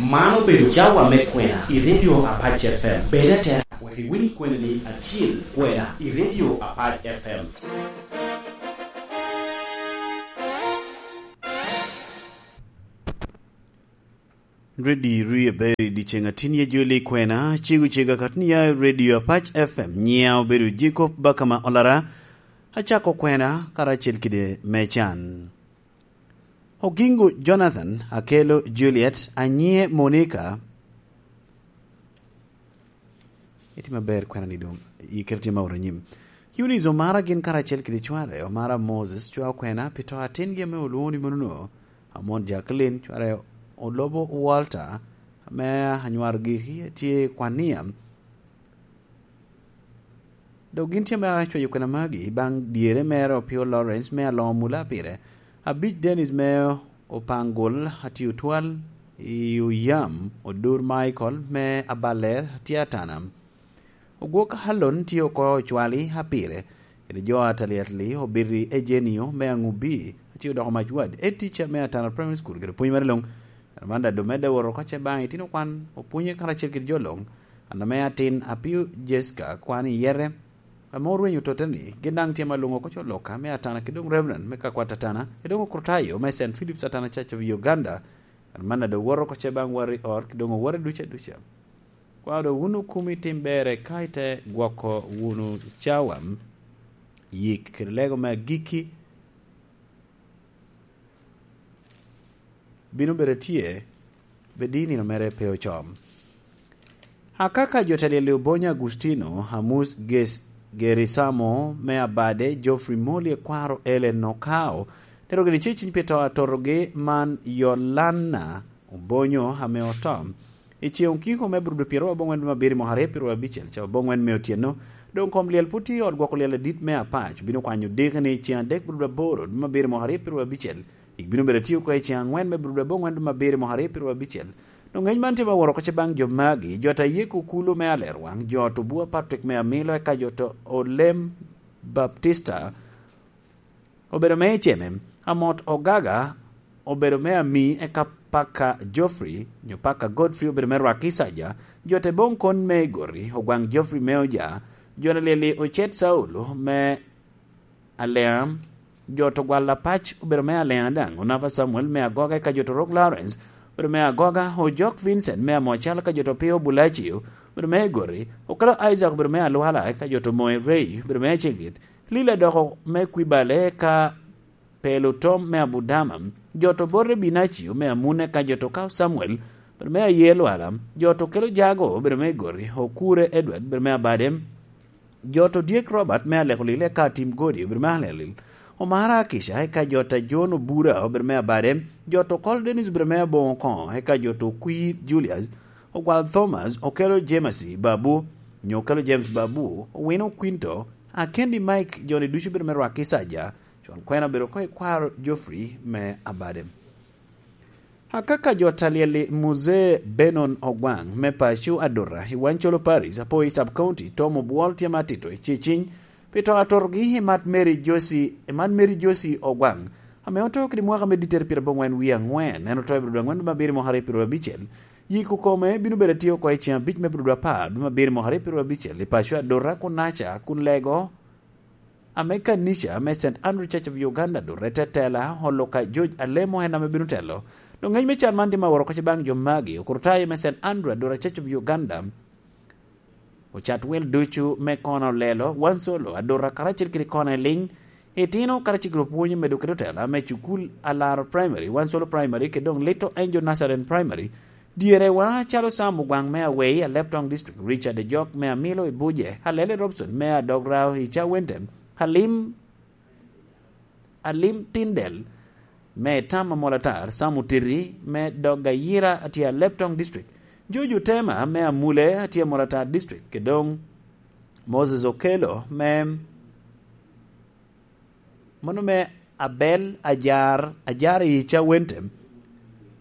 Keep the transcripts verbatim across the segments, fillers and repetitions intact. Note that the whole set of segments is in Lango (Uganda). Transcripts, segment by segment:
Man obedo cawa me kwena i Radio Apac F M. Bed atera wek iwiny kweni-ni acil kwena i Radio Apac F M. Redi ri aber i dyeceŋ atin ye joli kwena, cego cega kat ni ya i Radio Apac F M, nyiya obedo Jacob Bakama Olara, acako kwena karacel kede me can. Ogingo Jonathan, Akelo Juliet, Anyie Monica. Itimo aber kwena ni doŋ, ikelo tye ma oro nyim. Eunice Omara gin karacel kede cware, Omara Moses, cwa okwena pi to atingi ame olwoŋo ni monono, Amon Jacqueline, cware Olobo Walter, ame anywar giki, tye i Kwania. Dok gin tye me acweyo kwena magi baŋ dyere mere Opio Lawrence me Aloma Mula pire. Abic Dennis me Opangol, Atio Twal i Oyam, Odur Michael me Abaler, tye Atana. Ogwok Alon tye oko Ocwali, Apire, kede jo Ataliatli, Obiti Ejenio me Aŋubi, atye odoko mac wad, ed tica me Atana Primary School, kede pwony mere luŋ. Amanda Domede woro oko ce baŋ itino kwan, opwonye karacel kede jo luŋ. An ame atin, Apio Jessica, kwan i yete, ame orwenyo totte ni, gin daŋ tye ma luŋ oko co loka me Atana, kede doŋ Reverend me Kakwat Atana, kede doŋ Okrutayo me Saint Philip's Atana Church of Uganda. Amanda doŋ woto oko ce baŋ wari ot, kede doŋ owote duca duca. Kwaro wunu kumi tim berre ka ite gwoko wunu cawa, yik kede lego me agikki bino bedo tye, bed i nino mere pe ocom. Akaka jo telyel i Obonyo Agustino, Amus Ges-, Gerisamo me Abade, Geoffrey Moli ekwaro Ellen Okao, tero gini ceciny pi to atotogi man Yolana Obonyo ame oto. I ceŋ okiko me Burudu pyeraryo aboŋwen dwe me abiro mwaka aryo pyeraryo abicel, ca aboŋwen me otyeno, doŋ kom lyel pwod tye i ot gwoko lyel adit me Apac, obino kwanyo diki ni ceŋ adek Burudu aboro dwe me abiro mwaka aryo pyeraryo abicel, yik bino bedo atye oko i ceŋ aŋwen me Burudu aboŋwen dwe me abiro mwaka aryo pyeraryo abicel. Doŋ ŋec man tye me woro oko ce baŋ jo magi, jo ata Yeko Kulu me Alerwaŋ, jo ot Obua Patrick me Amilo, eka jo ot Olem Baptista, obedo me Eceme, Amot Ogaga, obedo me Ami, eka Paka Geoffrey, nyo Paka Godfrey, obedo me Rwakicaja, jo te boŋ kon me Igoti, Ogwaŋ Geoffrey me Oja, jo na lyel i Ocet Saulo me Aleam, jo to Gwal Apac, obedo me Aleam daŋ, Onapa Samuel me Agoga, eka jo to Rok Lawrence, obedo me Agoga, Ojok Vincent me Amocal, eka jo to Pio Bulacio, obedo me Igoti, Okelo Isaac, obedo me Alwala, eka jo to Moe Ray, obedo me Acegit, Lila doko me Kwibale, eka Pelo Tom me Abudama, jo to Borre Binacio me Amune, eka jo to Kao Samuel, obedo me Aye Lwala, jo to Kelo Jago, obedo me Igoti, Okure Edward, obedo me Abade, jo to Dyek Robert me Aleko Lil, eka Tim Godi, obedo me Aleko Lil, Omara Akisha, eka jo to John Obura, obedo me Abade, jo to Kol Dennis, obedo me Aboŋo Koŋo, eka jo to Kwir Julius, Ogwal Thomas, Okelo James Babu, nyo Okelo James Babu, Owino Quinto, Akendi Mike, joni ducu bedo me Rwakicaja, con kwena obedo oko i kwaro Geoffrey me Abade. Akaka jo talyel-li Muzee Benon Ogwaŋ me paco Adura i Wancolo Paris, Apoi Sub County, Tom Obwol tye ma atito i ceciny pi to atotogi i Mat Mary Josie, i Mat Mary Josie Ogwaŋ, ame oto kede mwaka me dittere pyerabongwen wie aŋwen, en oto i Burudu aŋwen dwe me abiro mwaka aryo pyeraryo abicel. Yiko kome bino bedo atye oko i ceŋ abic me Burudu apar dwe me abiro mwaka aryo pyeraryo abicel i paco Adura kun Naca kun lego ame kanica me Saint Andrew Church of Uganda dot etetela oloka George Alemo en ame bino telo. Doŋ ŋec me can man tye ma woro oko ce baŋ jo magi, okurutayo me Saint Andrew Adura Church of Uganda, ocat wel ducu me kono olelo, wan solo, Adura karacel kede kono eliŋ, itino karacel kede opwonyo medo kede otela me cukul Alaro Primary, wan solo Primary, kede doŋ Little Angel Nazarene Primary, Dyerewa, calo Sam Ogwaŋ me Awei, Aleptong District, Richard Ejok me Amilo i Buje, Alele Robson me Adograo i Cawente, Alim, Alim Tindel me Tam Amolatar, Sam Otiti me Dog Ayira atye Aleptong District, Jojo Tema me Amule atye Amolatar District, kede doŋ Moses Okello me Mano me Abel Ajar, Ajar i Cawente.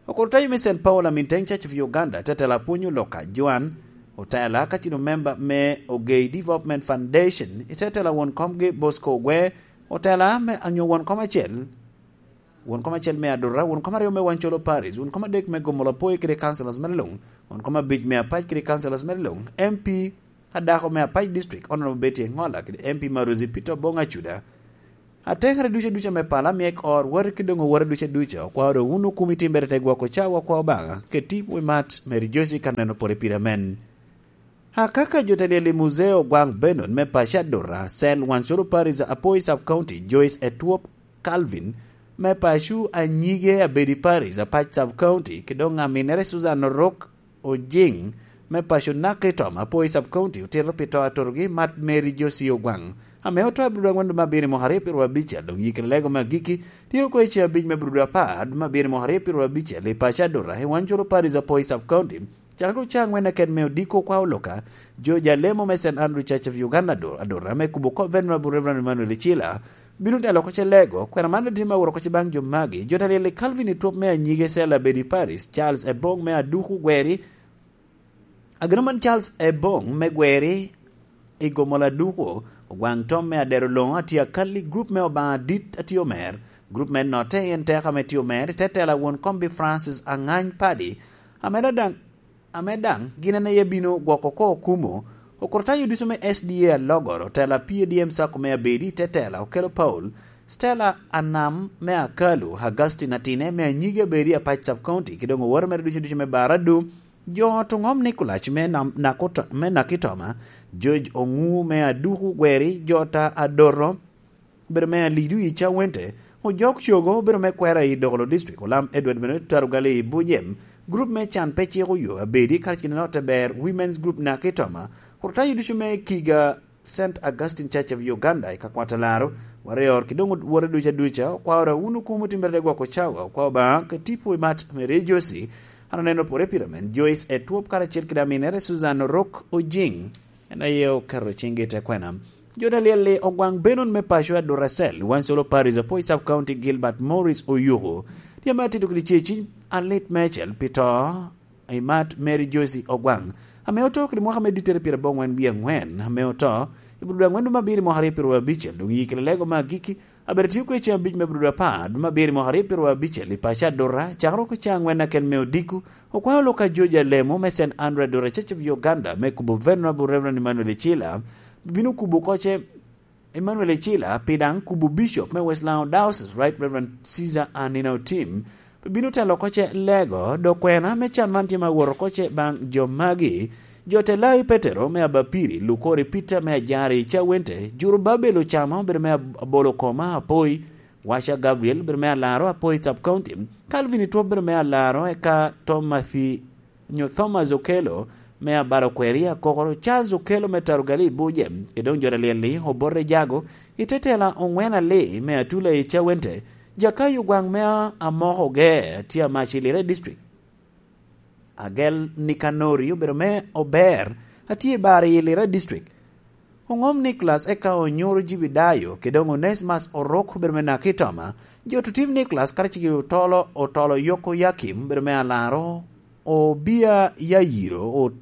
Okurutayo me Saint Paul Aminteng Church of Uganda, tetela apwony oloka Joan Otela, ka cino memba me Ogei Development Foundation, i tetela won komgi Bosco Ogwe, Otela me anyo won kom acel, won kom acel me Adura, won kom aryo me Wancolo Paris, won kom adek me Gomola Poi kede councillors mere luŋ, won kom abic me Apac kede councillors mere luŋ, M P adako me Apac District, Honorable Betty Engola, kede M P Maruzi Peter Obong Acuda. Atekere ducu ducu me pala myek or wati ki doŋ owote ducu ducu, okwao doŋ wun okumi timbere te gwoko cawa kwa Obaŋa, kede tipo i mat Mary Josie ka neno pore pire amen. Akaka jo te lyel i Muzeo Ogwaŋ Benon me paco Adura, Cell Wansolo Parish, Apoi Sub County, Joyce Etwop Calvin me paco Anyige Abedi Parish, Apac Sub County, ki doŋ aminere Susan Orok Ojiŋ me paco Nakitom, Apoi Sub County, otito pi to atutogi mat Mary Josie Ogwaŋ, ame oto abiro dwe aŋwen dwe me abiro mwaka aryo pyeru abicel, doŋ yikere lego me agikki tye oko i ceŋ abic me abiro dwe apar dwe me abiro mwaka aryo pyeru abicel i paco Adura, i Wansolo Parish, Apoi Sub County. Cakere ocaŋ wen aket me odiko kwa oloka, George Alemo me Saint Andrew Church of Uganda Ador-, Adora, me kubo kop Venerable Reverend Emmanuel Icila, bino telo oko ce lego, kwena man tye me aworo oko ce baŋ jo magi, jo ta lyel i Calvin Itwop me Anyige Cell Abedi Parish, Charles Ebong me Aduku Gweri, Ageno man Charles Ebong me Gweri i Gomola Aduku, Ogwaŋ Tom me Adero Loŋo atye akal i grup me Obaŋa Dit atye omer, grup me Notte en teka me tye omer, i te tela won kombi Francis Angany Padi, ame daŋ ame daŋ gin en aye bino gwoko oko okumo, okurtayo ducu me S D A alogoro, tela P A D M Sacco me Abedi, te tela Okelo Paul, Stella Anam me Akalu, Augustine Atine me Anyige Abedi, Apac Sub County, ki doŋ oworo mere ducu ducu me Baradu, jo ot oŋom Nicolas me Nam-, Nakoto-, me Nakitoma, George Oŋu me Aduku Gweri, jo ta Adoro, obedo me Alidu i Cawente, Ojok Cogo obedo me Kwera i Dokolo District, Olam Edward bene Tarugali i Bujem, grup me Can Pe Ciko Yo Abedi, karacel kede Notte Ber Women's Group Nakitoma, Kurtayo ducu me Kiga Saint Augustine Church of Uganda i Kakwata Laro, Warrior, ki doŋ wote ducu aduca, okwao ra wun okumo timbere te gwoko cawa, okwao Obaŋa ka tipo i mat me Rejosi, an oneno pore pire men, Joyce Etwop karacel kede aminere Susan Orok Ojiŋ, en aye oketo ciŋgi i te kwena. Jo ta lyel-li Ogwaŋ Benon me paco Aduracel, Wansolo Parish, Apoi Sub County, Gilbert Morris Oyuku, tye ame atito kede ceciny alit meicel pi to i mat Mary Josie Ogwaŋ, ame oto kede mwaka me dittere pyeradek wie aŋwen, ame oto i bur dwe aŋwen dwe me abiro mwaka aryo pyeru abicel, doŋ yikere lego me agikki, abedo tye kwe ceŋ abic me bur dwe apar dwe me abiro mwaka aryo pyeru abicel i paco Adura, cakere oko ceŋ aŋwen akel me odiko, okwao lok a George Alemo me Saint Andrew Adura Church of Uganda me kubo Venerable Reverend Emmanuel Icila, bino kubo oko ce Emmanuel Icila, pi daŋ kubo Bishop me West Lango Diocese, Right Reverend Caesar Anina Otim, bino telo oko ce lego, dok kwena me can man tye ma woro oko ce baŋ jo magi, jo te Lai Petero me Abapiri, Lukori Peter me Ajari Cawente, Jurubabel Ocamo, obedo me Ab-, Abolo Koma Apoi, Washa Gabriel, obedo me Alaro Apoi Sub County, Calvin Itwop, obedo me Alaro, eka Thomas nyo Thomas Okello me Abalo Kweri Akokoro, Charles Okello me Tarugali Buje, e doŋ jo ta lyel-li Obote Jago, i te tela Oŋwen Ali me Atula i Cawente, Jakayo Gwaŋ me Amoko Ge, tye amac i Lira District. Agel Nikanori obedo me Ober, atye i Bari i Lira District. Oŋom Nicholas eka onyuro Jibidayo, kede doŋ Onesmus Orok obedo me Nakitoma, jo Tutim Nicholas karacel kede Otolo, Otolo Yoko Yakim obedo me Alaro, Obia Yayiro, o-,